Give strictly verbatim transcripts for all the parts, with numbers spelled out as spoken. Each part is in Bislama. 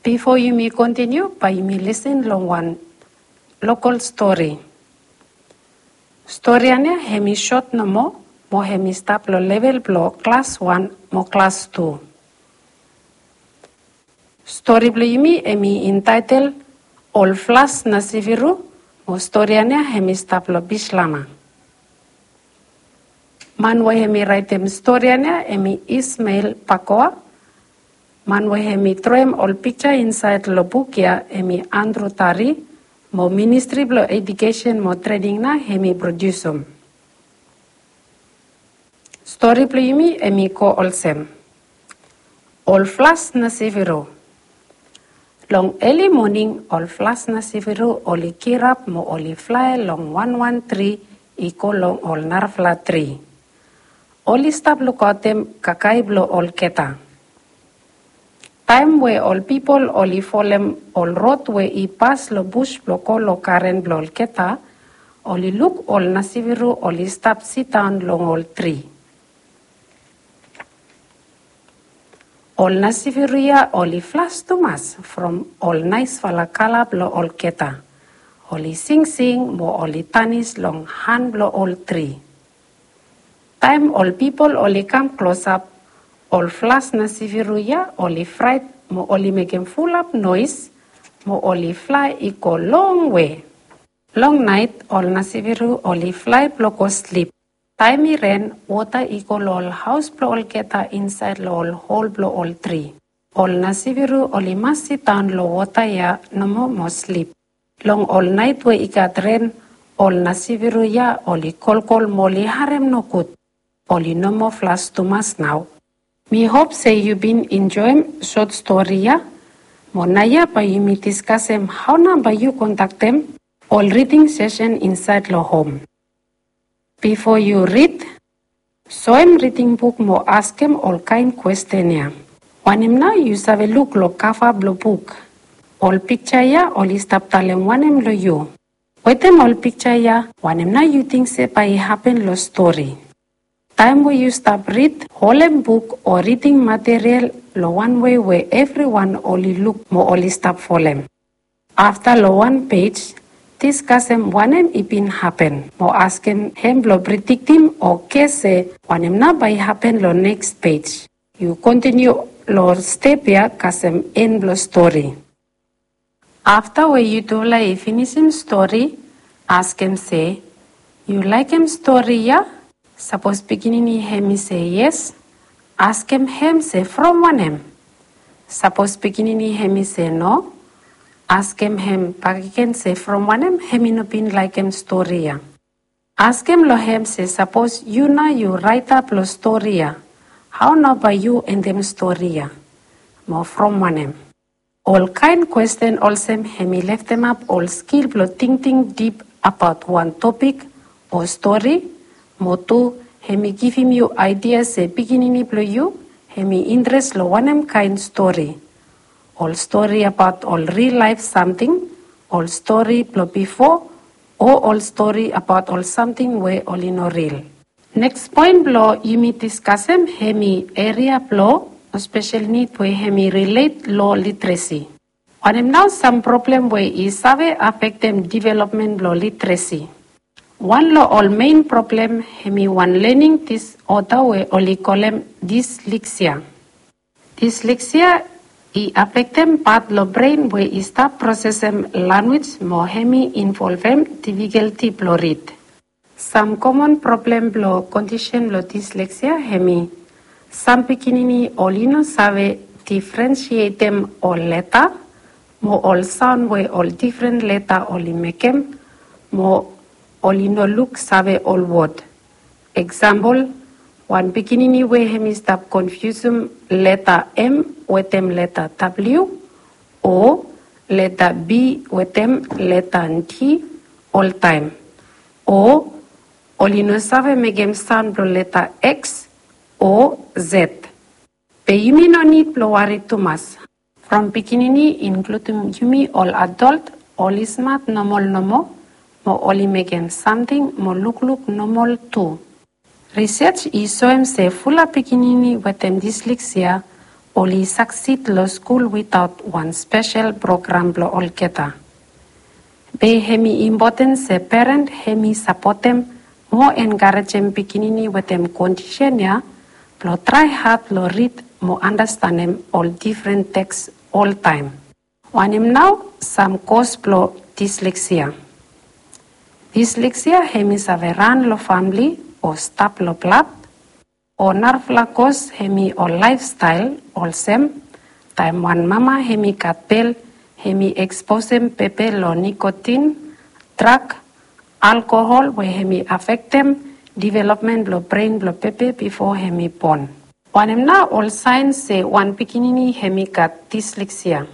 Bifo yumi kontiniu, bae yumi lisin long wan lokol stori. Stori ya nao hemi sot nomo, mo hemi stap long level blong klas wan mo klas tu. Stori blong yumi hemi intaetel Ol Flas Nasiviru, mo stori ya nao hemi stap long Bislama. Man we hemi raetem stori ya nao hemi Ismael Pakoa. Man we hemi droem ol piksa insaed long buk ya hemi Andrew Tari, mo Ministri blong Ejukesen mo Trening nao hemi prodiusum. Stori blong yumi hemi go olsem: Ol Flas Nasiviru. Long eli moning, ol Flas Nasiviru oli girap mo oli flae long wanwan tri i go long ol narafala tri. Oli stap lukaotem kakae blong olgeta. Taem we ol pipol oli folem ol rod we i pas long bus blong go long garen blong olgeta, oli luk ol Nasiviru oli stap sidaon long ol tri. Ol Nasiviru ya oli flas tumas from ol naesfala kala blong olgeta. Oli singsing mo oli danis long han blong ol tri. Taem ol pipol oli kam klosap, ol Flas Nasiviru ya oli fraet mo oli mekem fulap noes, mo oli flae i go longwe. Long naet, ol Nasiviru oli flae blong go slip. Taem i ren, wota i go long ol haos blong olgeta insaed long ol hol blong ol tri. Ol Nasiviru oli mas sidaon long wota ya nomo mo slip. Long ol naet we i gat ren, ol Nasiviru ya oli kolkol mo oli harem nogud. Oli no moa flas tumas nao. Mi hop se yu bin enjoem sot stori ya. Mo naoia bae yumi diskasem hao nao bae yu kondaktem ol riding sesen insaed long hom. Bifo yu rid, soem riding buk mo askem ol kaen kwesten ya. Wanem nao yu save luk long kava blong buk? Ol piksa ya oli stap talem wanem long yu? Wetem ol piksa ya, wanem nao yu ting se bae i hapen long stori? Taem we yu stap rid, holem buk o riding material long wan wei we evriwan oli luk mo oli stap folem. Afta long wan pej, diskasem wanem i bin hapen, mo askem hem blong prediktim o ges se wanem nao bae i hapen long neks pej. Yu kontiniu long step ya kasem en blong stori. Afta we yutufala i finisim stori, askem se, yu laekem stori ya? Sapos pikinini hem i se yes, askem hem se from wanem. Sapos pikinini hem i se no, askem hem bakegen se from wanem hem i no bin laekem stori ya. Askem long hem se sapos yu nao yu raeta blong stori ya, hao nao bae yu endem stori ya? Mo from wanem? Ol kaen kwesten olsem hem i leftemap ol skil blong tingting dip abaot wan topik o stori, mo tu hem i givim yu aedia se pikinini blong yu hem i intres long wanem kaen stori. Ol stori abaot ol ril laef samting, ol stori blong bifo, o ol stori abaot ol samting we oli no ril. Neks poen blong yumi diskasem hem i eria blong spesel nid we hem i rilet long literesi. Wanem nao sam problem we i save afektem developmen blong literesi? Wan long ol mein problem hem i wan lening disoda we oli kolem disleksia. Disleksia i afektem pat long bren we i stap prosesem lanwis mo hem i involvem difikalti blong rid. Sam komon problem blong kondisen blong disleksia hem i, sam pikinini oli no save difrensietem ol leta mo ol saon we ol difren leta oli mekem, mo oli no luksave ol wod. Eksampol, wan pikinini we hem i stap konfiusum leta M wetem leta W, o leta B wetem leta D oltaem. O oli no save mekem saon blong leta X o Z. Be yumi no nid blong wari tumas. From pikinini, inkludum yumi ol adol, oli smat nomol nomo, mo oli mekem samting mo lukluk nomol tu. Risej i soem se fulap pikinini wetem disleksia oli saksid long skul witaot wan spesel program blong olgeta. Be hemi impoten se peren hemi sapotem mo enkarejem pikinini wetem kondisen ya blong trae had long rid mo andastanem ol difren teks oltaem. Wanem nao sam kos blong disleksia? Disleksia hemi save ran long famle o stap long blad, o narafala kos hemi ol laefstael olsem taem wan mama hemi gat bel, hemi eksposem bebe long nikotin, drak, alkohol we hemi afektem developmen blong bren blong bebe bifo hemi bon. Wanem nao ol saen se wan pikinini hemi gat disleksia?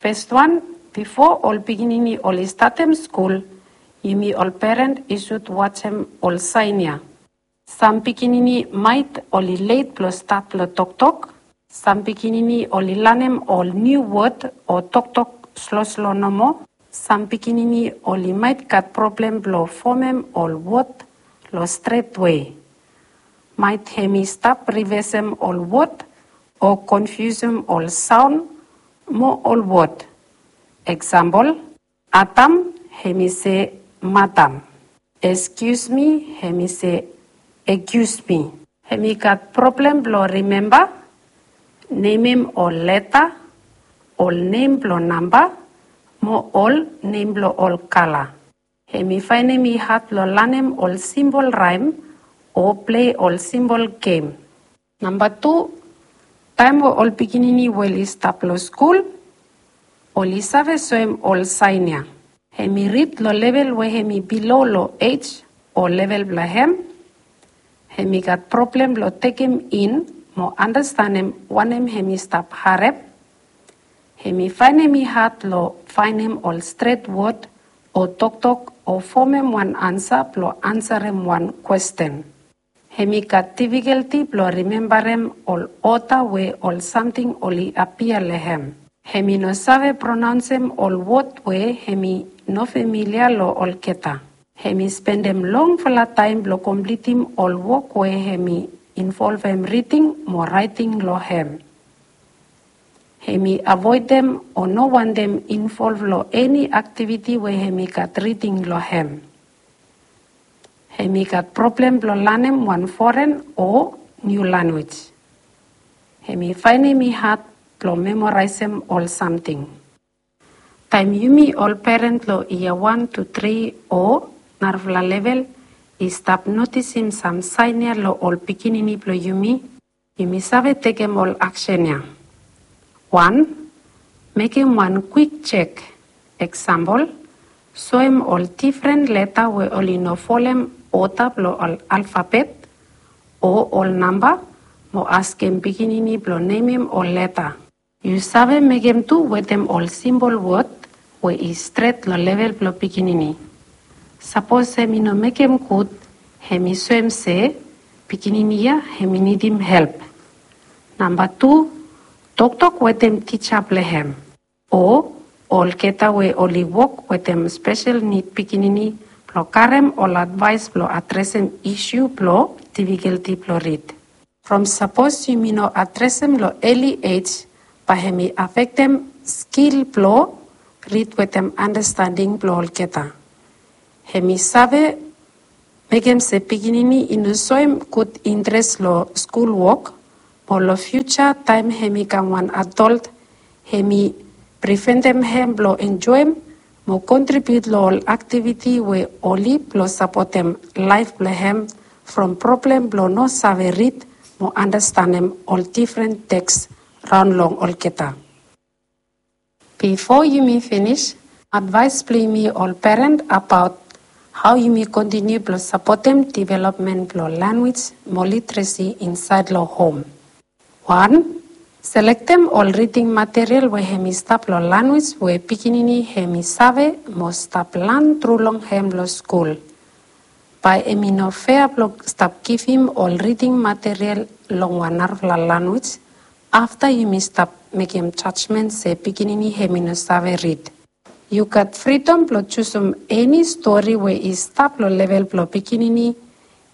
Fes wan, bifo ol pikinini oli statem skul, yumi ol peren i sud wajem ol saen ya. Sam pikinini maet oli let blong stat blong toktok. Sam pikinini oli lanem ol niu wod o toktok sloslo nomo. Sam pikinini oli maet gat problem blong fomem ol wod long stret wei. Maet hemi stap rivesem ol wod o konfiusem ol saon mo ol wod. Eksampol, Adam, hemi se madam. Excuse me, hemi se accuse me. Hemi gat problem blong rimemba nemem ol leta, ol nem blong namba, mo ol nem blong ol kala. Hemi faenem i had blong lanem ol simbol raem o plei ol simbol gem. Namba tu, taem we ol pikinini we oli stap long skul, oli save soem ol saen ya. Hemi rid long level we hemi bilo long ej o level blong hem. Hemi gat problem blong tekem in mo andastanem wanem hemi stap harem. Hemi faenem i had long faenem ol stret wod o toktok o fomem wan ansa blong ansarem wan kwesten. Hemi gat difikelti blong rimembarem ol oda we ol samting oli apia long hem. Hemi no save pronaonsem ol wod we hemi no familia long olgeta. Hemi spendem longfala taem blong komplitim ol wok we hemi involvem riding mo raeting long hem. Hemi avoedem o no wantem involv long eni aktiviti we hemi gat riding long hem. Hemi gat problem blong lanem wan foren o niu lanwis. Hemi faenem i had blong memoraesem ol samting. Taem yumi ol peren long yia wan tu tri o narafala level i stap notisim sam saen ya long ol pikinini blong yumi, yumi save tekem ol aksen ya. Wan, mekem wan kwik jek. Eksampol, soem ol difren leta we oli no folem oda blong ol alfabet o ol namba mo askem pikinini blong nemem ol leta. Yu save mekem tu wetem ol simbol wod we i stret long level blong pikinini. Sapos hemi no mekem gud, hemi soem se pikinini ya hemi nidim help. Namba tu, toktok wetem tija blong hem o olgeta we oli wok wetem spesel nid pikinini blong karem ol advaes blong adresem isu blong difikelti blong rid. From sapos yumi no adresem long eli ej, bae hemi afektem skil blong rid wetem andastanding blong olgeta. Hemi save mekem se pikinini i no soem gud intres long skul wok, mo long fiuja taem hemi kam wan adolt, hemi priventem hem blong enjoem mo kontribiut long ol aktiviti we oli blong sapotem laef blong hem from problem blong no save rid mo andastanem ol difren teks raon long olgeta. Bifo yumi finis, advaes blong yumi ol peren abaot hao yumi kontiniu blong sapotem developmen blong lanwis mo literesi insaed long hom. Wan, selektem ol riding material we hemi stap long lanwis we pikinini hemi save mo stap lan tru long hem long skul. Bae hemi no fea blong stap givim ol riding material long wan narafala lanwis afta yumi stap mekem jajmen se pikinini hemi no save rid. Yu gat fridom blong jusum eni stori we i stap long level blong pikinini,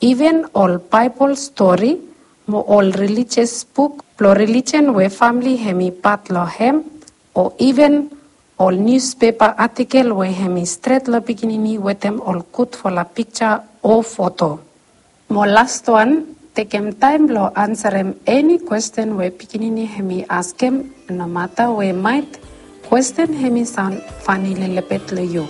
iven ol Baebol stori mo ol relijias buk Blong relijian we famili hemi pat long hem, o iven ol niuspepa atikel we hemi stret long pikinini wetem ol gudfala pikja o foto. Mo laswan, tekem taem blong ansarem eni kwesten we pikinini hemi askem, nomata we maet kwesten hemi saon fani lelebet long yu.